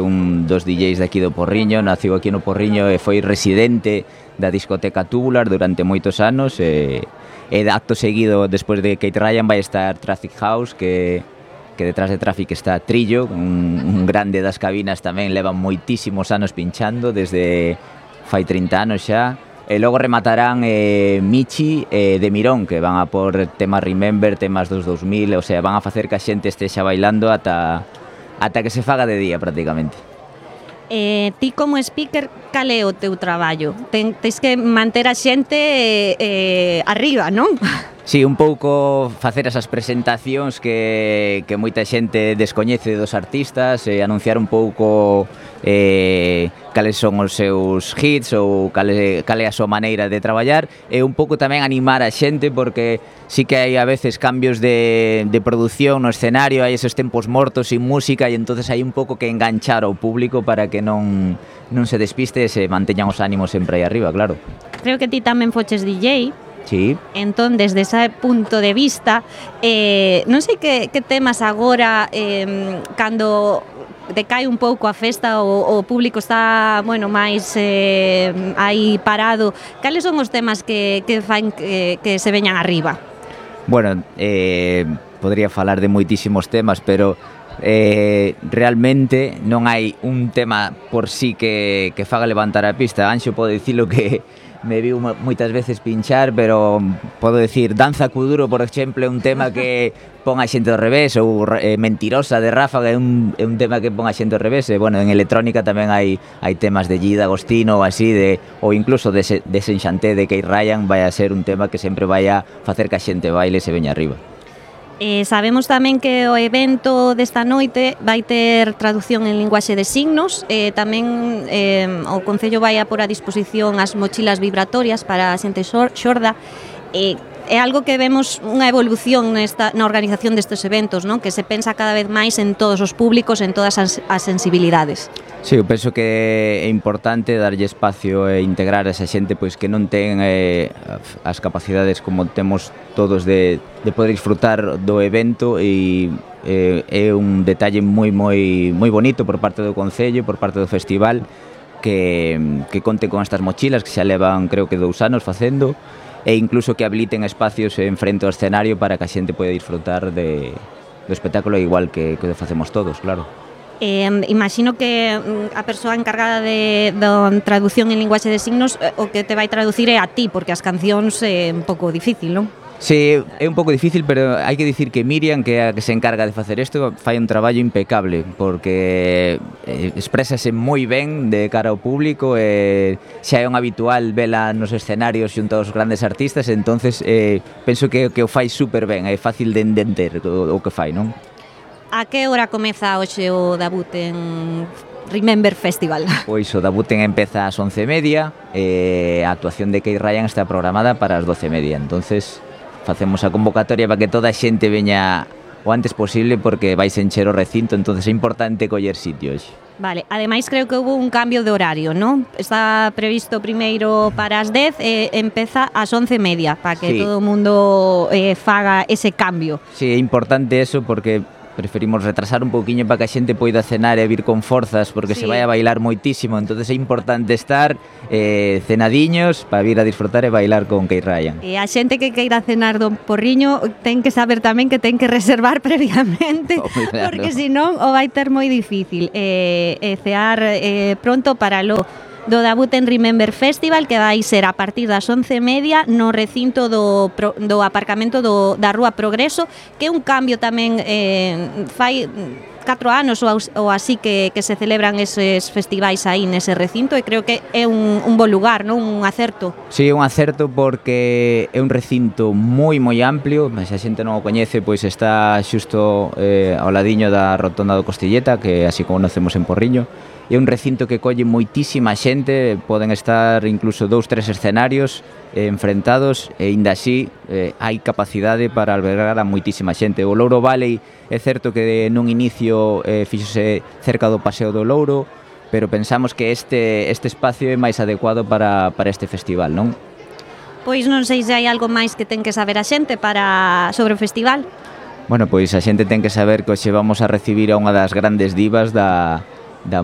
un dos DJs de aquí do Porriño, naciu aquí no Porriño e foi residente da discoteca Tubular durante moitos anos e de acto seguido, despois de Kate Ryan, vai estar Traffic House, que detrás de Traffic está Trillo, un grande das cabinas tamén, leva moitísimos anos pinchando, desde fai 30 anos xa. E logo rematarán Michi e De Mirón, que van a por temas Remember, temas dos 2000, o sea, van a facer que a xente estexa bailando ata que se faga de día prácticamente. Ti como speaker, cal é o teu traballo? Tens que manter a xente arriba, non? Sí, un pouco facer esas presentacións que moita xente descoñece dos artistas, anunciar un pouco cales son os seus hits ou cal é a súa maneira de traballar e un pouco tamén animar a xente porque sí que hai a veces cambios de produción no escenario, hai esos tempos mortos sin música e entonces hai un pouco que enganchar ao público para que non se despiste e se manteñan os ánimos sempre aí arriba, claro. Creo que ti tamén foches DJ. Sí. Entón, desde ese punto de vista, non sei que temas agora, cando decae un pouco a festa, o público está, bueno, máis aí parado, cales son os temas que fan que se veñan arriba? Bueno, podría falar de moitísimos temas, pero realmente non hai un tema por sí que faga levantar a pista. Anxo pode dicilo que me viu moitas veces pinchar, pero podo dicir Danza Kuduro, por exemplo, é un tema que pon a xente ao revés, ou Mentirosa de Ráfaga é un tema que pon a xente ao revés, e, bueno, en electrónica tamén hai temas de Gida Agostino ou así, ou incluso de Desenchanté de Kate Ryan, vai a ser un tema que sempre vai a facer que a xente baile e se veña arriba. Sabemos tamén que o evento desta noite vai ter traducción en linguaxe de signos, tamén o Concello vai a por a disposición as mochilas vibratorias para a xente xorda. É algo que vemos unha evolución na organización destes eventos, non? Que se pensa cada vez máis en todos os públicos, en todas as sensibilidades. Sí, eu penso que é importante darlle espacio e integrar a esa xente pois que non ten as capacidades como temos todos de poder disfrutar do evento e é un detalle moi bonito por parte do Concello, por parte do festival que conte con estas mochilas que xa levan creo que 2 anos facendo e incluso que habiliten espacios en frente ao escenario para que a xente poida disfrutar do espectáculo igual que o facemos todos, claro. Imagino que a persoa encargada da traducción en linguaxe de signos o que te vai traducir é a ti, porque as cancións é un pouco difícil, non? Sí, é un pouco difícil, pero hai que dicir que Miriam, que é a que se encarga de facer isto, fai un traballo impecable, porque exprésase moi ben de cara ao público, xa é un habitual vela nos escenarios xunto aos grandes artistas, entonces penso que o fai super ben, é fácil de entender o que fai, non? A que hora comeza hoxe o debut en Remember Festival? Pois o debut empeza ás 11:30 e a actuación de Kate Ryan está programada para as 12:30, entonces facemos a convocatoria para que toda a xente veña o antes posible porque vais encher o recinto, entonces é importante coller sitios. Vale, ademais creo que houve un cambio de horario, non? Está previsto primeiro para as 10 e empeza ás 11:30 para que todo o mundo faga ese cambio. Sí, é importante eso porque preferimos retrasar un pouquiño para que a xente poida cenar e vir con forzas porque se vai a bailar moitísimo, entonces é importante estar cenadiños para vir a disfrutar e bailar con Kate Ryan. E a xente que queira cenar do Porriño ten que saber tamén que ten que reservar previamente porque senón o vai ter moi difícil cear pronto para do debut en Remember Festival, que vai ser a partir das 11:30 no recinto do aparcamento da Rúa Progreso, que é un cambio tamén fai 4 anos ou así que se celebran eses festivais aí nese recinto e creo que é un bo lugar, non? Un acerto. Sí, un acerto porque é un recinto moi amplio, mas se a xente non o coñece, pois está xusto ao ladiño da rotonda do Costilleta, que así como conocemos en Porriño. É un recinto que colle moitísima xente, poden estar incluso 2-3 escenarios enfrentados e aínda así hai capacidade para albergar a moitísima xente. O Louro Valley é certo que nun inicio fíxose cerca do Paseo do Louro, pero pensamos que este espacio é máis adecuado para este festival, non? Pois non sei se hai algo máis que ten que saber a xente sobre o festival. Bueno, pois a xente ten que saber que hoxe vamos a recibir a unha das grandes divas da